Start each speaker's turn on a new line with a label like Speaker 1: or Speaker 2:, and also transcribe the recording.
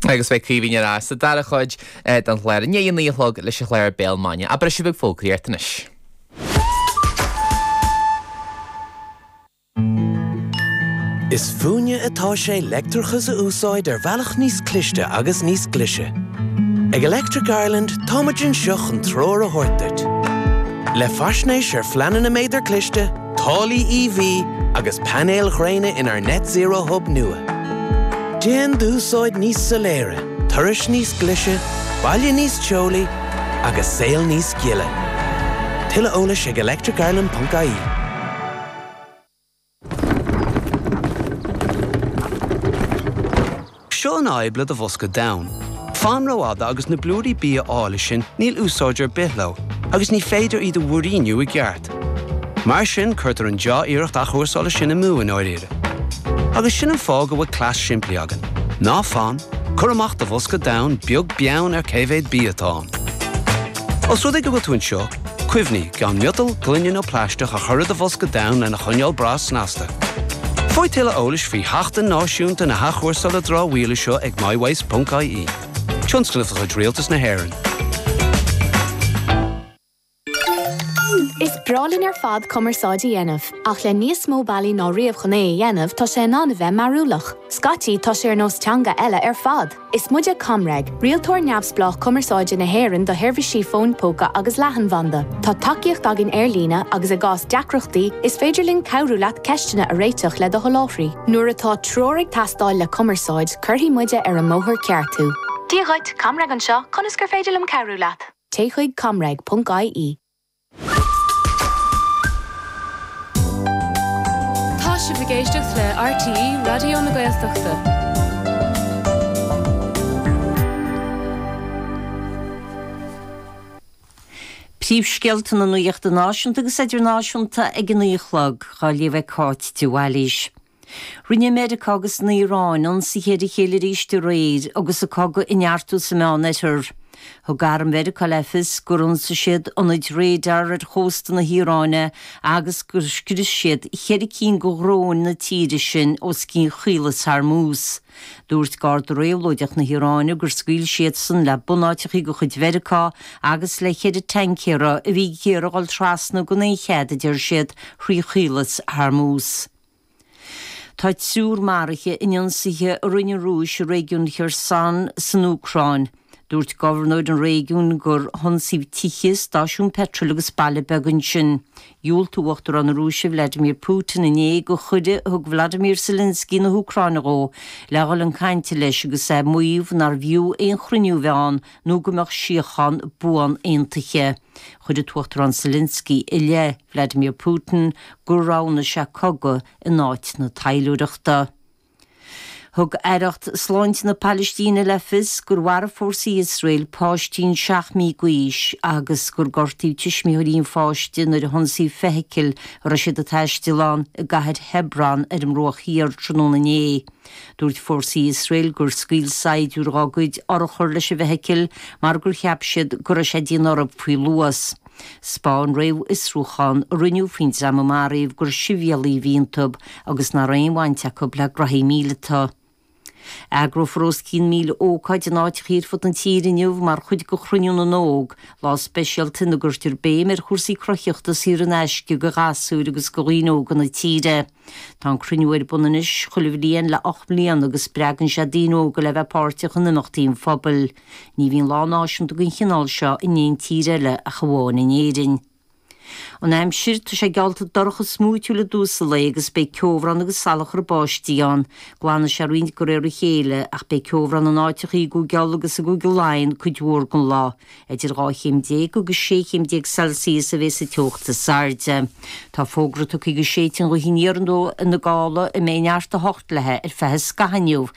Speaker 1: Agus beidh Caoimhín ar ais sa dara cuid den chlár i ndiaidh a 9 a chlog leis an chlár Béal Maidine. Ach briseadh beag fógraíochta anois.
Speaker 2: Is fúinne atá sé leictreachas a úsáid ar bhealach níos cliste agus níos glaise. Ag Electric Ireland tá muid anseo chun treoir a thabhairt duit. Le faisnéis ar phleananna méadar cliste, táillí EV agus painéil ghréine inár Net Zero Hub nua. Déan d'úsáid níos soiléire, turais níos glaise, baile níos teolaí agus saol níos gile. Tuilleadh eolais ag electricireland.ie.
Speaker 3: Seo an fhadhb le do bhosca donn. Fan rófhada agus na blúirí bia áille sin níl úsáid ar bith leo agus ní féidir iad a mhúiríniú i gceart. Mar sin cuirtear an dea-iarracht athchúrsála sin amú i ndáiríre. Agus sin an fáth go bhfuil cleas simplí againn. Ná fan, cuir amach do bhosca donn beag beann ar cé mhéad bia atá ann. Os rud é go bhfuil tú anseo, cuimhnigh gan miotal, gloine nó plaisteach a chur i do bhosca donn lena choinneáil breá snasta. Faigh tuilleadh eolais faoi Sheachtain Náisiúnta na hAthchúrsála Dramhaíola seo ag mywaste.ie. Tionscnamh de chuid Rialtas na hÉireann.
Speaker 4: Is breá linn ar fad cumarsáid a dhéanamh, ach le níos mó bealaí ná riamh chun é a dhéanamh, tá sé in ann a bheith mearúlach. Scaití, tá sé ar nós teanga eile ar fad! Is muide ComReg, rialtóir neamhspleách cumarsáide na hÉireann do sheirbhísí fóin póca agus leathanbhanda. Tá tacaíocht againn ar líne agus i gcás deacrachtaí, is féidir linn cabhrú leat ceisteanna a réiteach le do sholáthraí. Nuair atá treoir ag teastáil le cumarsáid, cuirfidh muide ar an mbóthar ceart thú. Dia dhuit, ComReg anseo, conas gur féidir liom cabhrú leat? Téigh chuig comreg.ie.
Speaker 5: Tá sibh ag éisteacht le RTÉ Raidió na Gaeltachta.
Speaker 6: Príomhscéalta na nuachta náisiúnta agus idirnáisiúnta ag a 9 a chlog, á léamh ag Cáit de Bhailís. Rinne Meiriceá agus an Iaráin ionsaithe ar a chéile arís aréir agus an cogadh ag neartú sa Meánoirthear. Thug arm Mheiriceá le fios gur ionsaigh siad ionaid radar ar chósta na hIaráine agus gur scrios siad cheithre cinn de dhróin na tíre sin os cionn Chaolas Hormuz. Dúirt Garda Réabhlóideach na hIaráine gur scaoil siadsan le bunáiteacha de chuid Mheiriceá agus le cheithre tancaera a bhí ag iarraidh dhul trasna gan aon chead, a deir siad, thrí Chaolas Hormuz. Tá triúr maraithe in ionsaithe a rinne an Rúis i réigiún Kherson san Úcráin. Dúirt gobharnóir an réigiúin gur hionsaíodh tithe, stáisiún peitril agus baile beag ansin. Dhiúltaigh Uachtarán na Rúise Vladimir Putin inné do chuireadh a thug Vladimir Zelensky na hÚcráine dhó le dhul chun cainte leis agus é ag maíomh nárbh fhiú aon chruinniú a bheith ann nó go mbeadh síocháin buan aontaithe. Chuir an tUachtarán Zelensky i leith Vladimir Putin gur roghnaigh sé cogadh in áit na taidhleoireachta. Thug Aireacht Sláinte na Palaistíne le fios gur mharaigh fórsaí Iosrael páistín 7 mí d'aois agus gur gortaíodh tuismitheoirí an pháiste nuair a hionsaíodh feithicil a raibh siad ag taisteal ann i gcathair Hebron ar an mBruach Thiar tráthnóna inné. Dúirt fórsaí Iosrael gur scaoil saighdiúir dá gcuid urchar leis an bhfeithicil mar gur cheap siad go raibh sé ag déanamh orthu faoi luas. 'Spáin réamhfhiosrúchán a rinneadh faoin dream a maraíodh gur sibhialaigh a bhí iontu agus nach raibh aon bhaint acu le graithí míleata. Eagrófar os cionn 1,000 ócáid in áiteachaí ar fud na tíre inniu mar chuid de Chruinniú na nÓg, lá speisialta ina gcuirtear béim ar chúrsaí cruthaitheachta saor in aisce do ghasúir agus do dhaoine óga na tíre. Tá an cruinniú ar bun anois chuile bhliain le 8 mbliana agus spreagann sé daoine óga le bheith páirteach in imeachtaí an phobail. Ní bhíonn lá náisiúnta den chineál seo in aon tír eile ach amháin in Éirinn. An aimsir, tá sé geallta dorcha smúitiúil i dtús an lae agus beidh ceobhrán agus salachar báistí ann. Glanfaidh sé roinnt de réir a chéile ach beidh ceobhrán in áiteachaí i gCúige Uladh agus i gCúige Laighean cuid mhór den lá. Idir 12 chéim agus 16 chéim Celsius a bheas an teocht is airde. Tá fógra tugtha do séideadh gaoithe aniar na gála a mbeidh neart 8 léi ar feadh an scaithimh inniu.